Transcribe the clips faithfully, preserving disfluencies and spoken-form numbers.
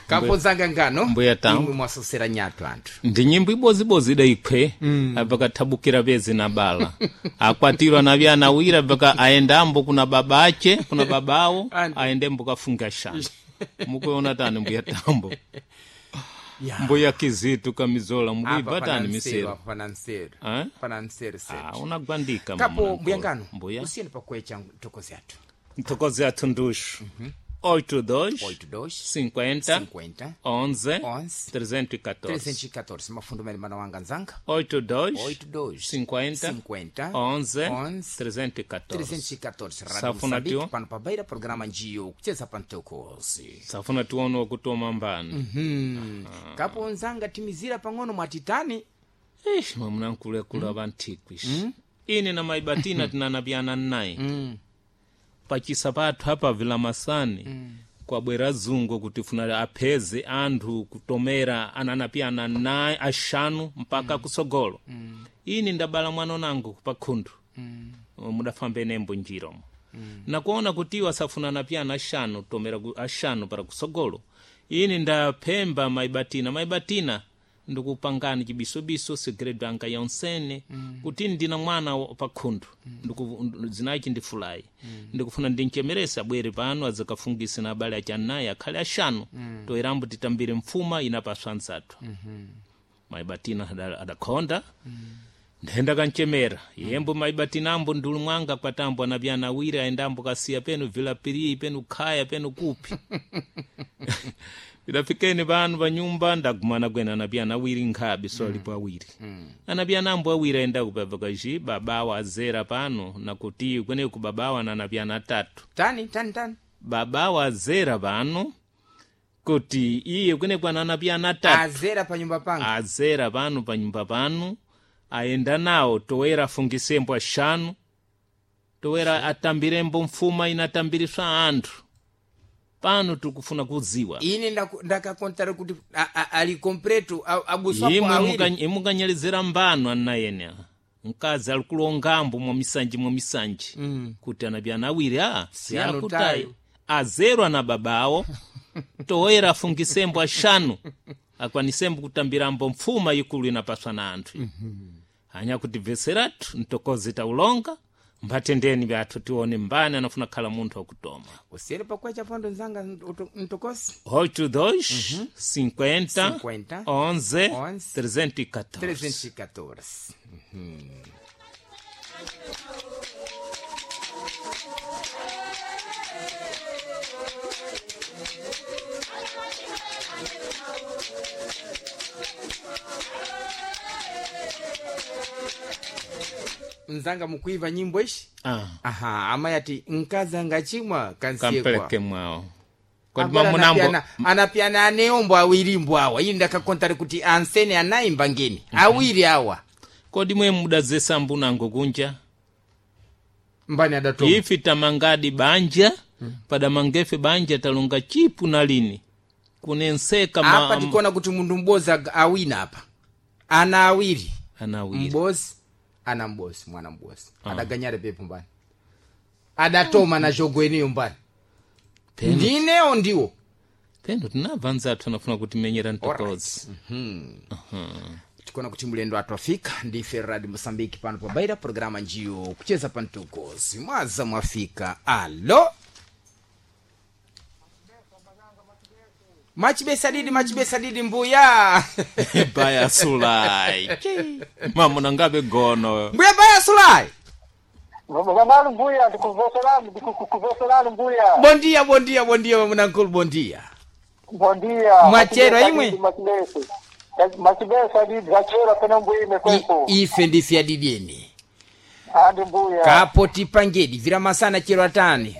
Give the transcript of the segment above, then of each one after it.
Kapo ngano Mbuya tamu. imwe mwasosera nyatu anthu. Ndi nyimbo ibozibozi idayikhwe mm. apakathabukira pezi na bala akwatirwa na vyana awiri paka aendambo kuna baba ache kuna babawo Antu. aendembo kafunga shana mukuona tani mbuya tambo Ya. mbuya kizitu kamizola Apa mukuibva pana tani nseru, misero apa pana nseru. Eh? Pana nseru Ah, setu. unagwandika Kapo mama mbuya ngano mbuya usiyeni pakwecha ntokozi athu. ntokozi athu nduxu oito dois oito dois cinquenta cinquenta onze onze trezentos e quatorze trezentos e quatorze. Mafundo mene mana wanga nzanga. oito dois oito dois cinquenta cinquenta onze onze trezentos e quatorze. trezentos e quatorze. Rádio Safuna Moçambique, tio. pano pabaira programa njiyo kucheza pa ntokozi. Safuna tione wakutoma mbani. Hmm. Kapo nzanga timizira pang'ono mwatitani. Eish, mwamuna vanthikwi ine na maibatina tinanapyana nnayi pachisa pathu apa vilamasani kwabwera zungu kuti funa apheze anthu kutomera ananapyana nayi axanu mpaka kusogolo. Ini ndabala mwana nangu pa khunthu mudafamba enembo njiromo nakuona kuti iwo asafuna anapyana axanu tomera ku- axanu para kusogolo. Ini ndaphemba maibatina maibatina ndikupangani chibisobiso segredo anga yonsene kuti ndina mwana wa- pa khunthu Ndiku- ndu- zinachi ndifulayi ndikufuna ndinchemerese abwere pano azakafungise na abale achi anayi akhale axanu toerambo titambire mfuma inapaswa anzathu. Maibatina ada- adakhonda ndenda kanchemera yembo maibatinambo ndulu mwanga kwatambo anapyana awiri aendambo kasiya penu vilapiri penu khaya penu kupi idafikeni pano pa nyumba ndagumana kwene anapyana awiri nkhabe so alipo awiri anapyana ambo awiri aenda kupapa kaji babawa azera pano nakuti kweneku babawa na anapyana atatu. Tani tani tani. Babawa azera pano kuti iye kweneku ananapyana atatu. Azera pa nyumba panga. Azera pano pa nyumba pano aenda nawo toera afungisembo axanu toera atambirembo mfuma inatambiriswa anthu pano tikufuna kudziwa. Ine ndaku- ndakakontara kuti a- a- ali completo a- abuswapo imwe awiri. muka- imukanyalizira mbano anayene mkazi ali kulongambo mwa misanji mwa misanji mm. kuti anapyana awiri a siakutayi Sianutayo. azerwa na babawo toera afungisembo axanu akwanisembo kutambirambo mfuma ikulu inapaswa na anthu. Anya kuti bveseratu ntokozi taulonga mbatendeni vyathu tione mbani anafuna khala munthu wakutoma. Usiyeni pakwecha pondo nzanga nto- ntokosi. oito dois cinquenta cinquenta onze onze trezentos e quatorze. trezentos e quatorze. Uhum. Nzanga mukuiva nyimbo ishi. Ah. Aha, amayi ati mkazi angachimwa kansiyekwa Kampeleke mwawo kodi Agora mamunambo. anapiana anapiana aneombo awiri mbo awa ini ndakakontari kuti ansene anayimba ngeni awiri awa. Kodi mwe mudazesa mbunango kunja Mbani adatoma. ifi tamangadi banja padamangefe banja talonga chipu na lini kunenseka ma- Apa tikuona kuti munthu m'bozi ag- awina apa ana awiri. Ana awiri. M'bozi ana m'bozi mwana m'bozi adaganyare pepo mbani adatoma na jogo eniyo mbani Peno- ndinewo ndiwo. Peno tinabva anzathu anafuna kutimenyera ntokozi. Tikuona kuti mlendo athu afika ndife Radio Moçambique pano pabaira programa njiyo kucheza pa ntokozi mwaza mwafika. Alo machibesa didi machibesa didi mbuya. Baya sulai mamuna ngabe gono. Mbuya baya sulai. Vanali mbuya, ndikuvoserani ndikuvoserani mbuya. Bondia bondia bondia mamunankulu bondia. Bondia. Mwachero imwe? Machibesa machibesa didi zachero pena mbuya imekwepo. I, ife ndife adidieni. Andi mbuya. Kapo tipangedi vira masana chero atani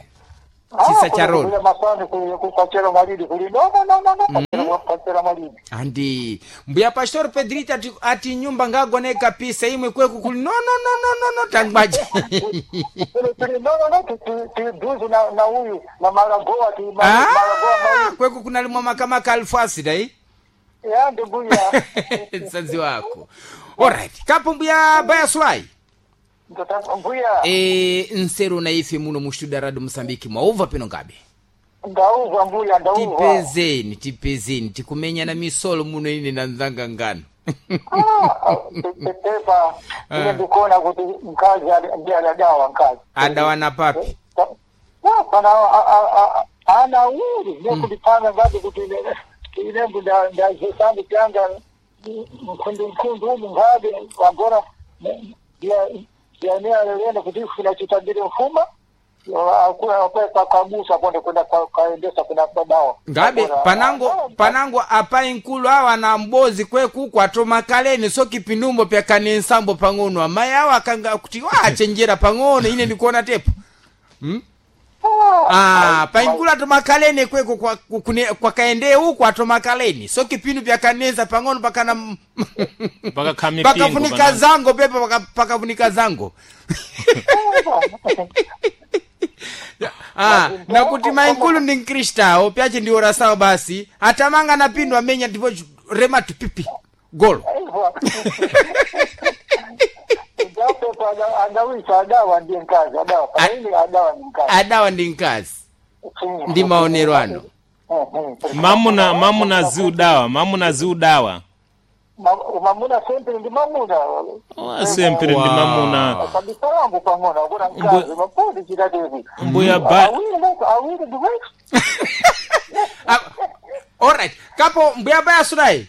Ah, chisa cha kuli- rolo. kuli masani kuli kachero malidi kuli no no no no no kachero kachero malidi. Andi mbuya pastor Pedrita ati, ati nyumba ngagone kapisa imwe kweku kuli no no no no no no tangbaje. Kuli kuli no no no ti ti duzu na na huyu na maragoa ti ma- maragoa Ah, mawili. kweku kunalimwa makamaka alfasi dai. Ya ndi mbuya. Msanzi wako. Alright, kapo mbuya baya sulai. Mtoto mbuya. E, nseru na ife muno mu studio ya Radio Mosambiki mwauva peno ngabe. Ndauva mbuya, ndauva. Tipezeni, tipezeni, tikumenyana misolo muno ine na nzanga ngano. Ah, pepepa ine ndikuona kuti mkazi ali- ndiye adadawa mkazi. Adawa na papi. Ah, pana a- a- a- ana awiri nekundipanga ngati kuti ine- inembu ndazesambi tyanga mkhundu mkhundu umu ngabe wagora ndianealelene kuti funa chitambire mfuma kabusa konde kwenda kaendesa kuna babawa Ngabe panango panango apai nkulu awa na mbozi kwekuku atoma kaleni so kipindumbo pyakane nsambo pang'ono amayi awa akanga kuti wachenjera pang'ono ine ndikuona tepo. Hmm? Ah, painkulu atoma kaleni kweko kwa, kune, kwa kaende huku atoma kaleni so kipindu pyakanenza pang'ono pakana Pakakha mipingo pakafunika panango. zango pepa paka- pakafunika zango. Ah, nakuti mainkulu ndi mkristawo pyache ndi orasawo basi atamanga na pindu amenya ndipo rematu pipi golo. Ndapepa adawisa adawa ndiye mkazi adawa panaini adawa ni mkazi Adawa ndi mkazi ndi maonero ano. Mamuna mamuna ziudawa, mamuna ziudawa. Mamuna sempre ndi mamuna. Oh, sempre ndi mamuna. Kabisa wangu pang'ono akuna mkazi mapudi chitatevi Mbuya ba awiri leko awiri ndiwetu. Ah, alright kapo mbuya baya sulayi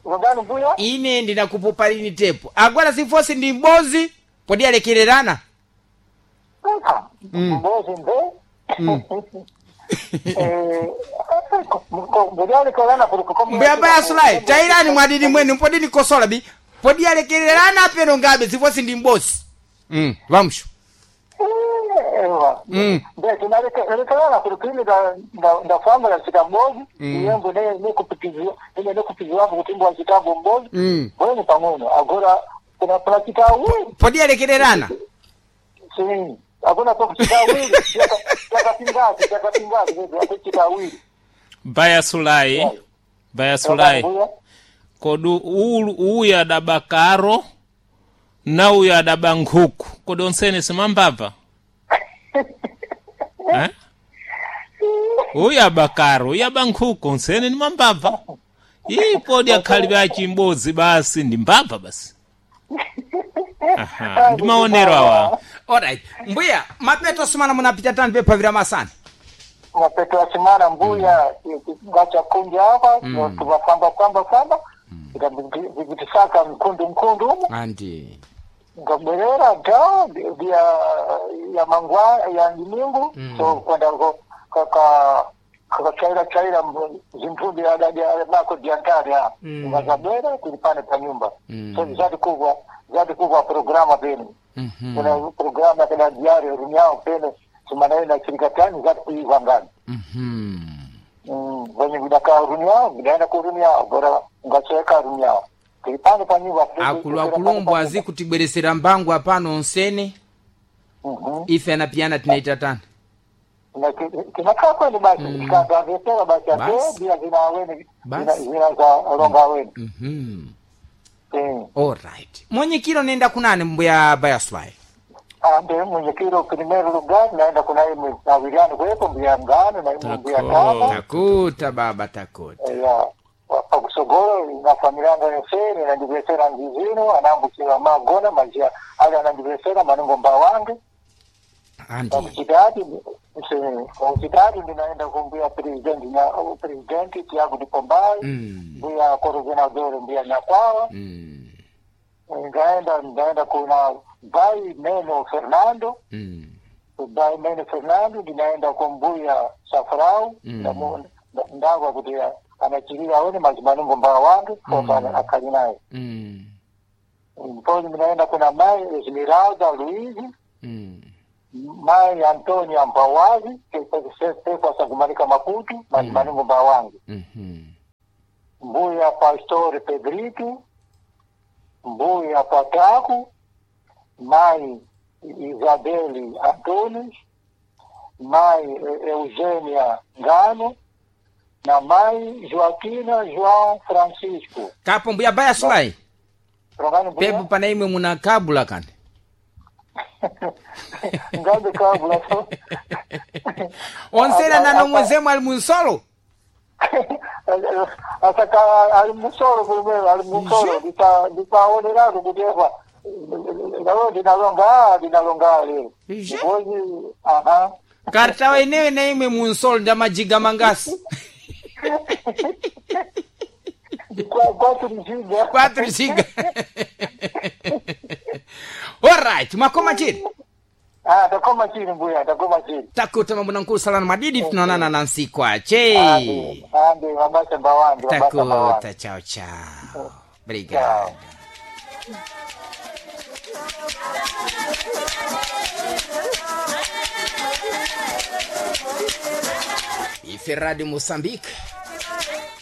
Ngani mbuya? ine ndinakupopa lini tepo agora zifosi ndi mbozi podi alekererana. Mbozi mbe Mbuya baya sulayi tairani mwadini mwenu mpodi nikosola bi podi alekererana peno ngabe zifosi ndi mbozi mm, vamsho. Mm. Ndelekelana kuli kini ndafamba ndachita mbozi iyembo ine nekupiziwapo kuti mbo achitambo mbozi Mm. bweni pang'ono agora kuna kuna chita awiri. Podi alekererana. Si akuna pakuchita awiri chakapingazi chakapingazi akuchita awiri. Baya sulayi. Baya sulayi. Kodu ulu uyu adaba karo na uyu adaba nkhuku. Kodi onsene simambabva? Eh? Uyu aba karo, uyu aba nkhuku, onsene ni mambabva. Ii podi akhali achimbozi basi ndi mbabva basi. Aha, ndi maonero awa. Alright mbuya mapeto sumana munapita tani pepa vira masana. Mapeto ya simana mbuya ngacha kunja hapa tumafamba famba famba vikitisaka mkundu mkundu umu Anti ngabwerera da ya ya mangwa ya nyimingu so kwenda ko kaka kakachaira chaira zintumbi ya mako diantari ha ngazabwera tulipane pa nyumba so zati kubwa zati kubwa programa pene kuna programa kana diario runyao pene simana ina chirikatani zati kuiva ngani. Mhm. Venye vidaka runyao vidaenda kurunyao bora ngacheka runyao tulipane pa nyumba. Akulu akulumbu azi kutibweresera mbangu apano onsene Mhm. ife anapiyana tinaita tani. Kinakaa kweli basi kikaavesera basi ate Basi. bila zina aweni Basi. zina za ronga aweni. Mhm. Eh. Alright mwenyekiro nenda kunani mbuya baya sulayi. Ande mwenyekiro primero lugar naenda kuna imwe awiriani kweko mbuya ngano na imwe mbuya Tako. tama Takuta baba takuta. ya pakusogolo na familia yangu yonsene inandibwesera ngizino anambukiwa magona mazia ali anandibwesera manungo mba wange. Anti pakuchitatu pakuchitatu ndinaenda kumbuya president na president Tiago Dipombai Mm. mbuya coordenador mbuya Nyakwawa. Mm. Ngaenda ngaenda kuna Bai Meno Fernando. Mm. Bai Meno Fernando ndinaenda kumbuya Safrau. Mm. Ndamu- ndagwa kuti anachirira aone mazimanungo mba wange kota akali naye. Mm. Ndipo ndinaenda kuna mai Esmeralda Luizi. Mm. Mai Antonio Mbawazi pepa sakumalika Maputo mazimanungo mba wange. Mhm. Mbuya Pastore Pedrito, Mbuya Pataco, Mai Isabelle Antunes, Mai Eugênia Ngano na Mai Joaquina João Francisco. Kapo mbuya baya sulayi Rongani mbuya? pepo pana imwe munakabula kani. Ngambe kabula so. Onsena na nomwezemo ali munsolo. Asaka ali musolo kulimwe ali musolo ndita nditaoneratu kuti efa lalo ndinalonga ndinalonga lero. Ije. Ngozi aha. Kartawa inewe na imwe munsolo nda majiga mangasi. Kwa- Quatro giga. Quatro giga. Alright, makoma chiri. Ah, takoma chini mbuya, takoma chini. Takuta mambo na nkulu salana madidi tunaonana na nsiku ache. Ande, ande, mabasa mbawande, mabasa mbawande. Takuta, chao chao. Obrigado. Ife Rádio Moçambique,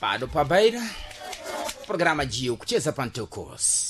Pado Pabeira, programa de Kucheza Pantucos.